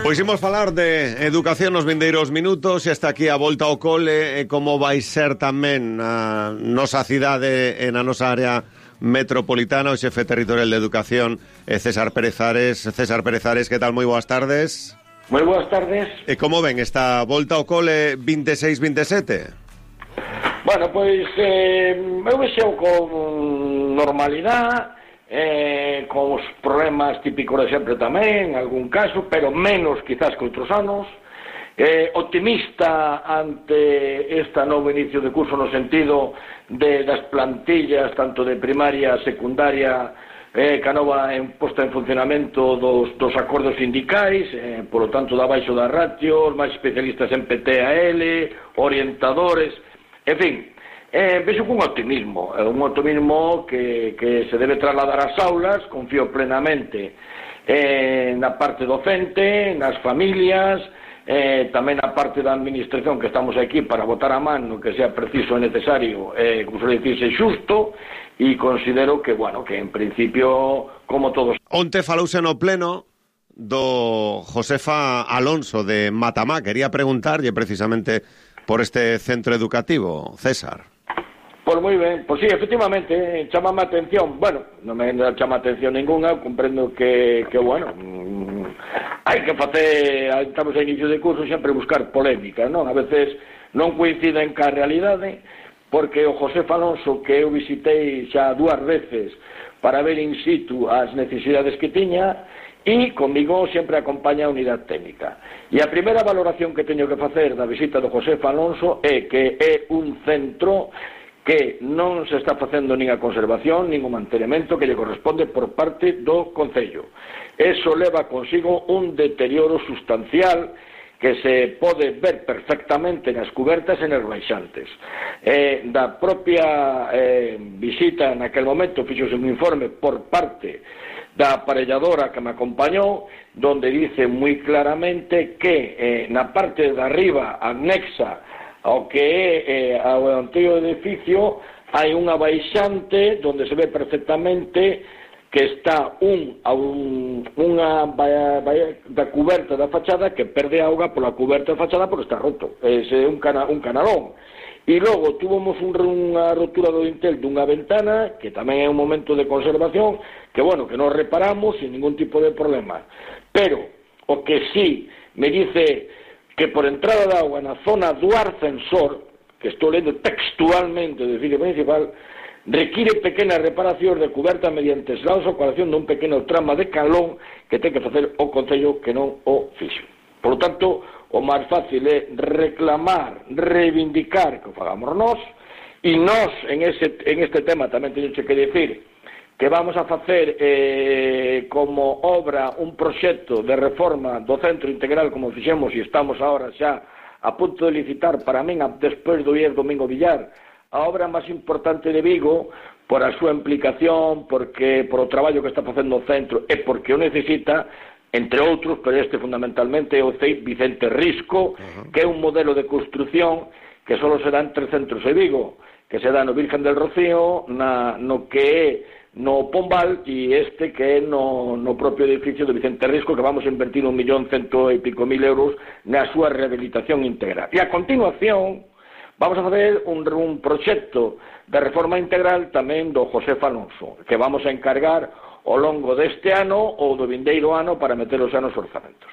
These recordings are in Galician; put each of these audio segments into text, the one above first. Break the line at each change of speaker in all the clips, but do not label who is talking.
Pois imos falar de educación nos vindeiros minutos e está aquí a volta ao cole e como vai ser tamén a nosa cidade e na nosa área metropolitana o xefe territorial de educación César Pérez Ares. César Pérez Ares, que tal? Moi boas tardes.
Moi boas tardes.
E como ven esta volta ao cole 26-27?
Bueno, pois eu vexeo con normalidade, con os problemas típicos de sempre tamén, en algún caso, pero menos quizás que outros anos, optimista ante esta novo inicio de curso no sentido das plantillas, tanto de primaria, secundaria, que a nova posta en funcionamento dos acordos sindicais, polo tanto, da baixo das ratios, máis especialistas en PTAL, orientadores, en fin, vexo cun optimismo, un optimismo que se debe trasladar ás aulas, confío plenamente na parte docente, nas familias, tamén na parte da administración que estamos aquí para botar a man no que sea preciso e necesario, como suele dicirse, xusto, e considero que, bueno, que en principio, como todos...
Onte falouse no pleno do Josefa Alonso de Matamá. Quería preguntarlle precisamente por este centro educativo, César.
Pois moi ben, pois sí, efectivamente, chamame a atención, bueno, non me chama a atención ninguna, comprendo que bueno, hai que facer, estamos a inicio de curso, sempre buscar polémica, non? A veces non coinciden ca realidade, porque o Josefa Alonso, que eu visitei xa 2 veces para ver in situ as necesidades que tiña, e comigo sempre acompaña a unidade técnica. E a primeira valoración que teño que facer da visita do Josefa Alonso é que é un centro que non se está facendo nin a conservación, nin o mantenimento que lle corresponde por parte do Concello. Eso leva consigo un deterioro sustancial que se pode ver perfectamente nas cubertas e nas baixantes. Da propia visita naquel momento fixose un informe por parte da aparelladora que me acompañou, donde dice moi claramente que na parte de arriba anexa ao que é ao antigo edificio hai unha baixante donde se ve perfectamente que está unha da cuberta da fachada que perde auga pola cuberta da fachada porque está roto, é un canalón. E logo tuvemos unha rotura do dintel dunha ventana, que tamén é un momento de conservación, que bueno, que non reparamos sin ningún tipo de problema. Pero o que sí me dice que por entrada de agua na zona do ascensor, que estou lendo textualmente do edificio principal, require pequenas reparacións de cuberta mediante eslados ou coalación dun pequeno trama de calón que ten que facer o Concello que non o fixo. Por lo tanto, o máis fácil é reclamar, reivindicar que o fagamos nós, e nós en este tema tamén teño que dicir que vamos a facer como obra un proxecto de reforma do centro integral como fixemos e estamos agora xa a punto de licitar para min despois do IES Domingo Villar a obra máis importante de Vigo por a súa implicación, porque por o traballo que está facendo o centro e porque o necesita, entre outros, pero este fundamentalmente é o CEIP Vicente Risco, que é un modelo de construción que só se dá en 3 centros de Vigo, que se dá no Virgen del Rocío, no que é no Pombal e este que é no propio edificio de Vicente Risco, que vamos a invertir 1.100.000 e pico euros na súa rehabilitación integral. E a continuación vamos a facer un proxecto de reforma integral tamén do Josefa Alonso, que vamos a encargar ao longo deste ano ou do vindeiro ano para metelos xa nos orzamentos.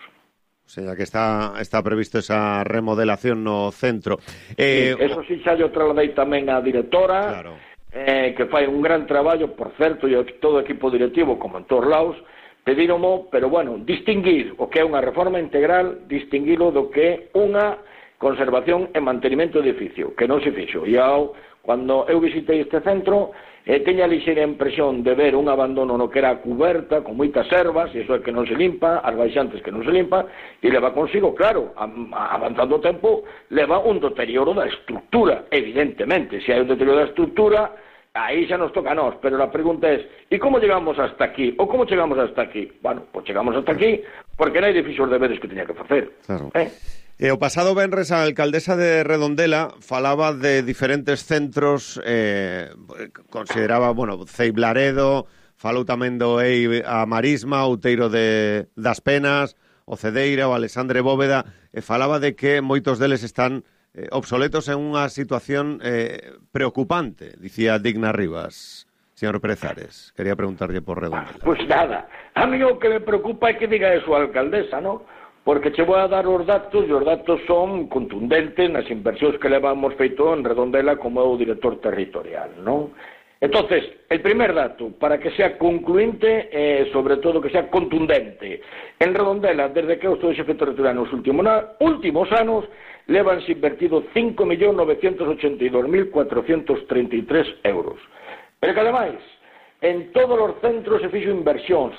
O sea, que está previsto esa remodelación no centro.
Sí, eso sí xa yo trasladei tamén á directora, claro. Que fai un gran traballo, por certo, e todo o equipo directivo, como en todos lados, pedíromo, pero bueno, distinguir o que é unha reforma integral, distinguilo do que é unha conservación e mantenimento do edificio, que non se fixo. E cando eu visitei este centro, teña a lixeira impresión de ver un abandono no que era a cuberta, con moitas ervas, e iso é que non se limpa, as baixantes que non se limpa, e leva consigo, claro, avanzando o tempo, leva un deterioro da estructura, evidentemente. Se hai un deterioro da estructura, aí xa nos toca a nós, pero a pregunta é, e como chegamos hasta aquí? Ou como chegamos hasta aquí? Bueno, pois chegamos hasta aquí, porque non hai edificios de deberes que teña que facer.
Claro. O pasado venres a alcaldesa de Redondela falaba de diferentes centros, consideraba, bueno, Ceiblaredo, falou tamén do EI a Marisma, Outeiro das Penas, o Cedeira, o Alexandre Bóveda, falaba de que moitos deles están obsoletos en unha situación preocupante, dicía Digna Rivas. Señor Pérez Ares, quería preguntarlle por Redondela.
Pois nada, a mí o que me preocupa é que diga eso a alcaldesa, non? Porque che vou a dar os datos, e os datos son contundentes nas inversións que levamos feito en Redondela como é o director territorial, non? Entonces, el primer dato, para que sea concluinte e, sobre todo, que sea contundente. En Redondela, desde que eu estou de xefe territorial nos últimos anos, levanse invertido 5.982.433 euros. Pero que, ademais, en todos os centros se fixo inversións.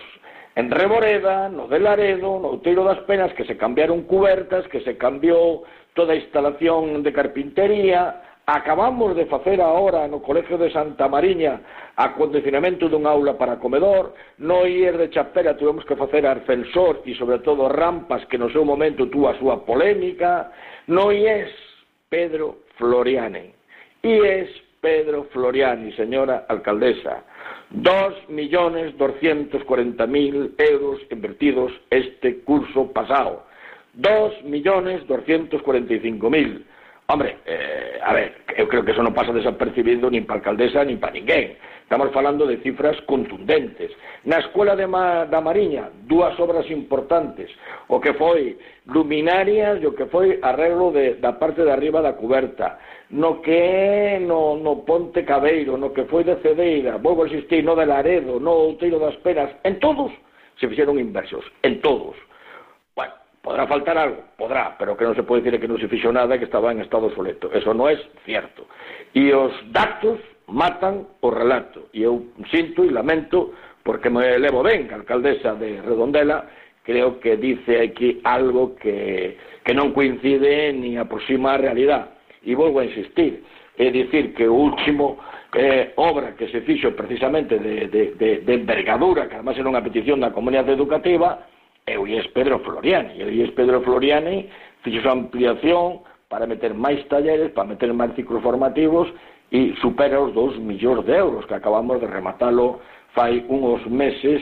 En Reboreda, no de Laredo, no Outeiro das Penas, que se cambiaron cubertas, que se cambiou toda a instalación de carpintería. Acabamos de facer agora no Colegio de Santa Mariña acondicionamento dun aula para comedor. No IES de Chapela tuvemos que facer ascensor e, sobre todo, rampas que no seu momento tuvo a súa polémica. No IES Pedro Floriani. IES Pedro Floriani, señora alcaldesa, 2.240.000 euros invertidos este curso pasado. 2.245.000. Hombre, a ver, eu creo que eso non pasa desapercibido nin para a alcaldesa nin para ninguén. Estamos falando de cifras contundentes. Na Escuela da Mariña, dúas obras importantes. O que foi luminarias e o que foi arreglo da parte de arriba da cuberta. No que é no Ponte Cabeiro, no que foi de Cedeira, volvo a insistir, no de Laredo, no Outeiro das Penas, en todos se fixeron inversións, en todos. Bueno, podrá faltar algo, podrá, pero que non se pode dicir que non se fixo nada e que estaba en estado obsoleto. Eso non é cierto. E os datos matan o relato. E eu sinto e lamento, porque me levo ben a alcaldesa de Redondela, creo que dice aquí algo que non coincide ni aproxima a realidade. E volvo a insistir, é dicir que o último obra que se fixo precisamente de envergadura, que además era unha petición da comunidade educativa, é o IES Pedro Floriani. E o IES Pedro Floriani fixo a ampliación para meter máis talleres, para meter máis ciclos formativos e supera os 2 millóns de euros que acabamos de rematalo fai uns meses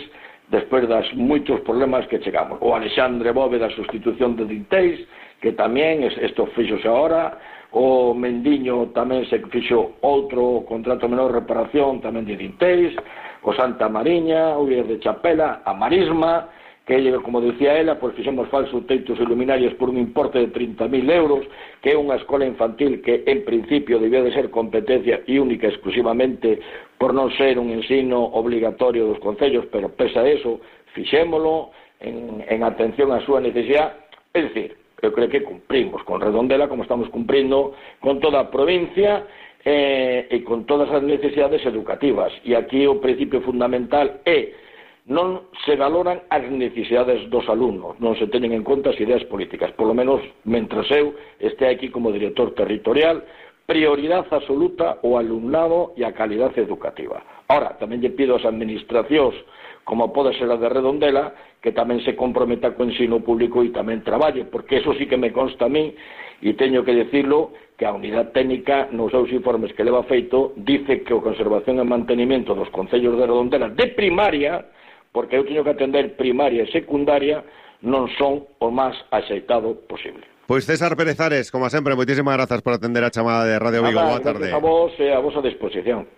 despois das moitos problemas que chegamos. O Alexandre Bóveda, a sustitución de Dinteis, que tamén isto fixose agora. O Mendiño tamén se fixo outro contrato menor reparación tamén de Dinteis. O Santa Mariña, o IES de Chapela, a Marisma, que, como decía ela, pois fixemos falsos teitos e luminarias por un importe de 30.000 euros, que é unha escola infantil que en principio debía de ser competencia e única exclusivamente por non ser un ensino obligatorio dos concellos, pero pese a eso, fixémolo en atención á súa necesidade. É dicir, eu creo que cumprimos con Redondela como estamos cumprindo con toda a provincia e con todas as necesidades educativas. E aquí o principio fundamental é non se valoran as necesidades dos alumnos, non se tenen en conta as ideas políticas, polo menos mentres eu este aquí como director territorial, prioridade absoluta o alumnado e a calidade educativa. Ahora, tamén lle pido ás administracións, como pode ser a de Redondela, que tamén se comprometa co ensino público e tamén traballe, porque eso sí que me consta a mí, e teño que decirlo, que a unidade técnica nos seus informes que leva feito dice que o conservación e mantenimento dos concellos de Redondela de primaria, porque eu teño que atender primaria e secundaria, non son o máis axeitado posible.
Pois César Pérez Ares, como sempre, moitísimas grazas por atender a chamada de Radio Vigo. Boa tarde.
Gracias a vos e a vosa disposición.